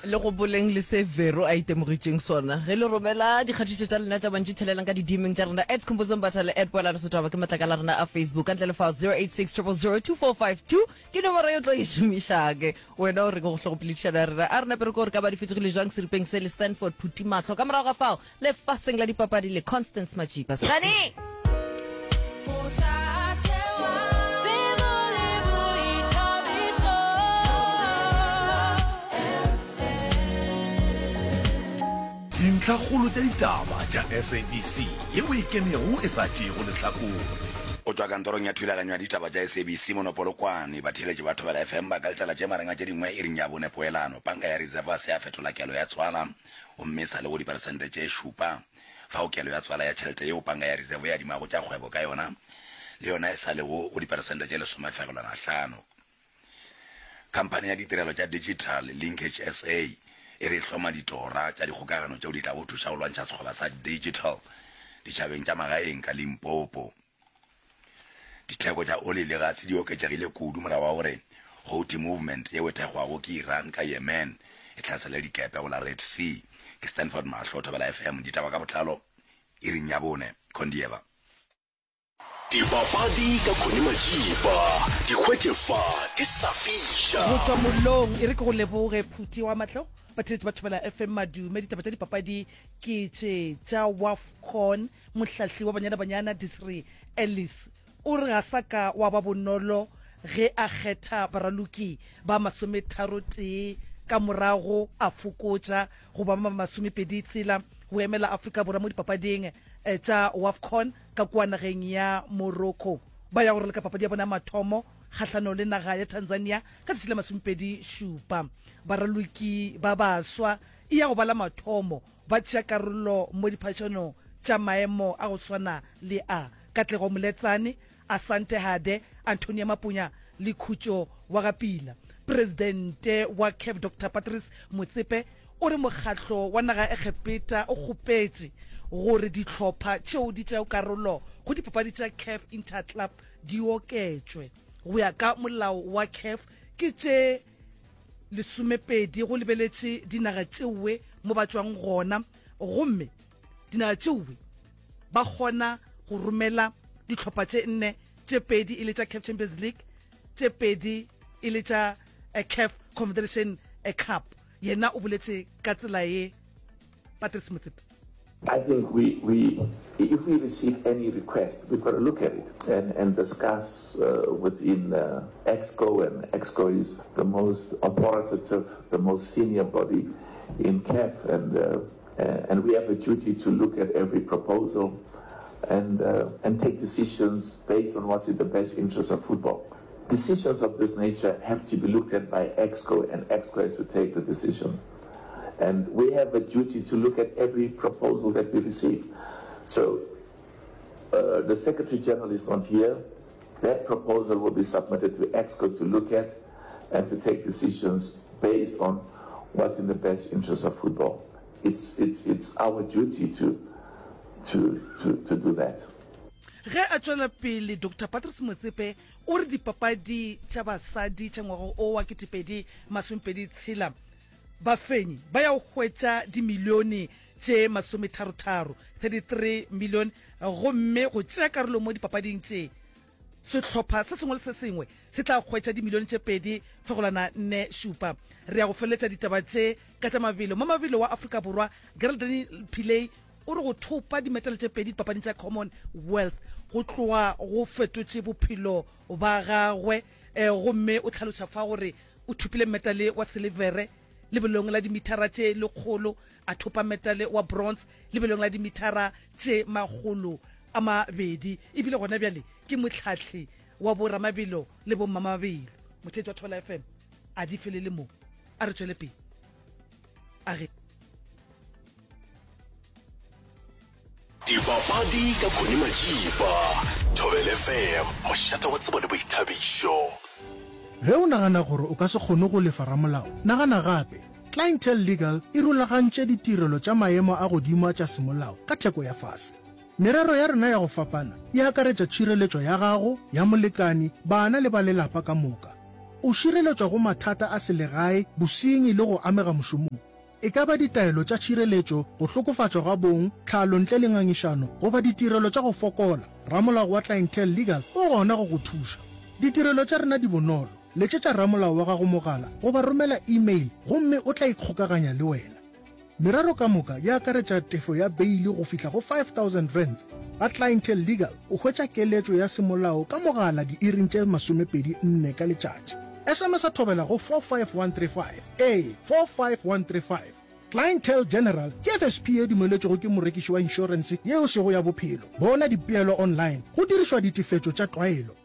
Le gopoleng le se Vero a itemogetšeng sona. Ge le romela dikgatišo tša lena tša mantšu thelelang ka di-DMing tša rena at Khumbudzo Mbatha le at Poelano Setwaba ke matlakala a rena a Facebook. Ka ntle le fao 086 000 2452 ke nomoro ye o tlo e šomišang. Wena o reng go hlogopoledišano ya rena? A re nape re kwe gore ka ba di fetogile jwang seripeng se le Stanford Phuti Mahlo. Ka morago ga fao, lefaseng la dipapadi le Constance Majipa. Stani! Dintlhakgolo tša ditaba tša SABC yeo e kenego e sa tšeego lehlakore. Go tšwa kantorong ya thulaganyo ya ditaba tša SABC mono Polokwane, batheeletši ba Thobela FM ba ka letela tše marenga tše dingwe iring ya bone poelano. Panka ya Reserve ga se ya fetola kelo ya tswala gomme e sa le go diperesente tše šupa. Fao kelo ya tswala ya tšhelete yeo Panka ya Reserve e adimago tša kgwebo ka yona le yona e sa lego go diperesente tše lesomefegelwana-hlano. Khamphani ya ditirelo tša digital, Linkage SA, e re e hloma ditora tša dikgokagano tšeo di tlago thuša go lwantšha sekgoba sa digital ditšhabeng tša magaeng ka Limpopo. Ditheko tša oli le gase di oketšegile kudu morago ga gore Houthi Movement yeo e thekgwago ke Iran ka Yemen e hlasele dikepe go la Red Sea. Ke Stanford Mahlo, Thobela FM, ditaba ka botlalo iring ya bone. Condieva. Dipapadi ka Connie Majiba, di hwetše fa di sa fiša. Go tšwa mollong, e re ke go leboge Phuti wa Mahlo, batheeletši ba Thobela FM Madume. Ditaba tša dipapadi ke tše tša Wafcon. Mohlahli wa Banyana Banyana Desiree Ellis o re ga sa ka wa ba bonolo ge a kgetha baraloki ba masometharotee ka morago a fokotša go ba ba masomepedi tshela go emela Afrika Borwa mo dipapading tša Wafcon ka kua nageng ya Morocco. Ba ya go raloka papadi ya bona ya mathomo kgahlanong le naga ya Tanzania ka letšatši la masomepedi šupa. Baraloki ba baswa e ya go ba la mathomo Ba tšea karolo mo diphatšanong tša maemo a go swana le a, Katlego Moletsane, Asante Hade, Antonia Mapunya le Khutšo wa ga Pila. Presidente wa CAF Doctor Patrice Motsepe o re mokgatlo wa naga ya Egepeta o kgopetše gore dihlopha tšeo di tšeago karolo go dipapadi tša CAF Inter-Club di oketšwe. Go ya ka molao wa CAF ke tše lesomepedi go lebeletše dinaga tšeoe mo ba tšwang gona gomme dinaga tšeoe ba kgona go romela dihlopha tše nne, tše pedi e le tša CAF Champions League, tše pedi e le tša eh, CAF Confederation eh, Cup. Yena o boletše ka tsela ye Patrice Motsepe. I think we, we, if we receive any request, we've got to look at it and, and discuss uh, within uh, EXCO, and EXCO is the most authoritative, the most senior body in CAF, and, uh, and we have a duty to look at every proposal and, uh, and take decisions based on what's in the best interest of football. Decisions of this nature have to be looked at by EXCO, and EXCO has to take the decision. And we have a duty to look at every proposal that we receive. So uh, the Secretary General is not here. That proposal will be submitted to EXCO to look at and to take decisions based on what's in the best interest of football. It's, it's, it's our duty to, to, to, to do that. Ge a tšwela pele, Doctor Patrice Motsepe o re dipapadi tša basadi tša ngwaga o wa 2026 Bafenyi ba ya go hwetša dimilione tše masometharotharo, 33 million, gomme go tšea karolo mo dipapading tše, sehlopha se sengwe le se sengwe se tla hwetša dimilione tše pedi fegolwana nne šupa. Re ya go feleletša ditaba tše ka tša mabelo. Mamabelo wa Afrika Borwa Geraldine Pillay o re go thopa dimetale tše pedi dipapading tša Commonwealth go tloga go fetotše bophelo ba gagwe gomme o hlaloša fa gore O thopile metale wa silivere lebelong la dimithara tše lekgolo, a thopa metale wa bronze lebelong la dimithara tše 200. E bile gona bjale ke mohlahli wa boramabelo le bommamabelo. Motheetši wa Thobela FM, a di felele mo. A re tšwele pele. A ge. Dipapadi ka Connie Majiba, Thobela FM, mošate wa tsebo le boithabišo. Ge o nagana gore o ka se kgone go lefa ramolao, nagana gape. Clientele Legal e rulagantše ditirelo tša maemo a godimo a tša semolao ka theko ya fase. Merero ya rena ya go fapana e akaretša tšhireletšo ya gago, ya molekani, bana le ba lelapa ka moka. O šireletšwa go mathata a selegae, bosenyi le go amega mošomong. E ka ba ditaelo tša tšhireletšo, go hlokofatšwa ga bong, tlhalo ntle le ngangišano, goba ditirelo tša go fokola, ramolao wa Clientele Legal o gona go go thuša. Ditirelo tša rena di bonolo. Letšetša ramolao wa gago mogala goba romela email gomme o tla ikgokaganya le wena. Merero ka moka e akaretša tefo ya beili go fihla go R5000. Ga Clientele Legal o hwetša keletšo ya semolao ka mogala diiring tše 24 ka letšatši. SMS-a thobela go 45135. Ee, 45135. Clientele General ke FSP ye dumeletšwego ke morekiši wa inšorense ye e sego ya bophelo. Bona dipeelo online go dirišwa ditefetšo tša tlwaelo.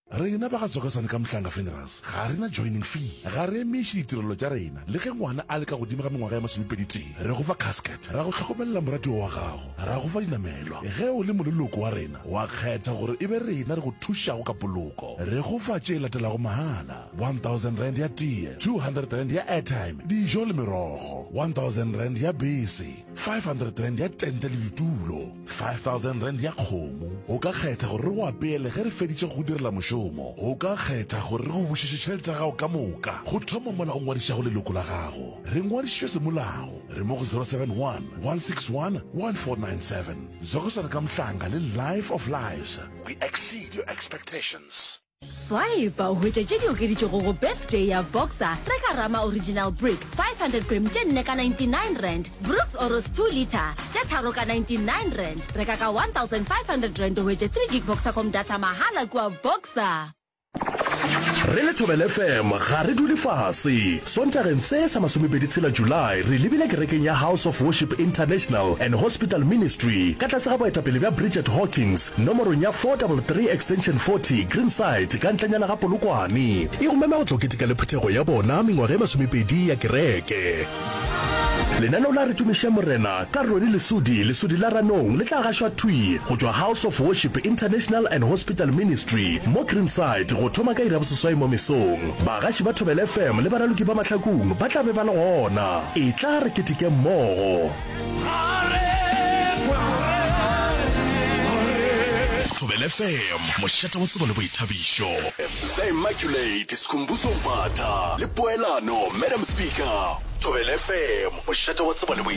Rena ba ga Tsokasane ka Mhlanga Funerals ga re na joining fee, ga re emiše ditirelo tša rena le ge ngwana a le ka godimo ga mengwaga ya masomepeditee. Re go fa casket, ra go hlokomelela moratiwa wa gago, ra go fa dinamelwa. Ge o le moleloko wa rena, wa kgetha gore e be rena re go thušago ka poloko. Re go fa tše latelago mahala, R1000 ya tee, R200 ya airtime, dijo le merogo, R1000 ya bese, R500 ya tente le ditulo, R5000 ya kgomo. O ka kgetha gore re go apeele ge re feditše go go direla mošomo. O ka kgetha gore re go bušetše tšhelete ya gago ka moka go thoma mola o ngwadišago leloko la gago. Re ngwadišitšwe semolao. Re mo go 071 161 1497. Zokosana ka Mhlanga le Life of Lives. We exceed your expectations. Swipe o hwetše tše di okeditšwego go Birthday ya Boxer. Reka Rama Original Brick 500 gram tše nne ka R99, Brooks Oros 2 litre tše tharo ka R99. Reka ka R1500 o hwetše 3 gig Boxercom data mahala kua Boxer. Re le Thobela FM ga re dule fase. Sontageng se sa masomepedi tshela July re lebile kerekeng ya House of Worship International and Hospital Ministry ka tlase ga boetapele bja Bridget Hawkins nomorong ya 433 Extension 40 Greenside ka ntlenyana ga Polokwane. E go mema go tlo keteka le phuthego ya bona mengwaga e masomepedi ya kereke. Lenaneo la Re Tumiše Morena ka Ronnie Lesodi, Lesodi la Ranong, le tla gašwa thwi go tšwa House of Worship International and Hospital Ministry mo Greenside go thoma ka iri ya boseswai mo mesong. Bagaši ba Thobela FM le baraloki ba Mahlakung ba tla be ba le gona. Etla re keteke mmogo. Thobela FM, mošate wa tsebo le boithabišo. The Immaculate Skhumbuzo Mbatha le Poelano Madam Speaker. Thobela FM, mošate wa tsebo le boithabišo.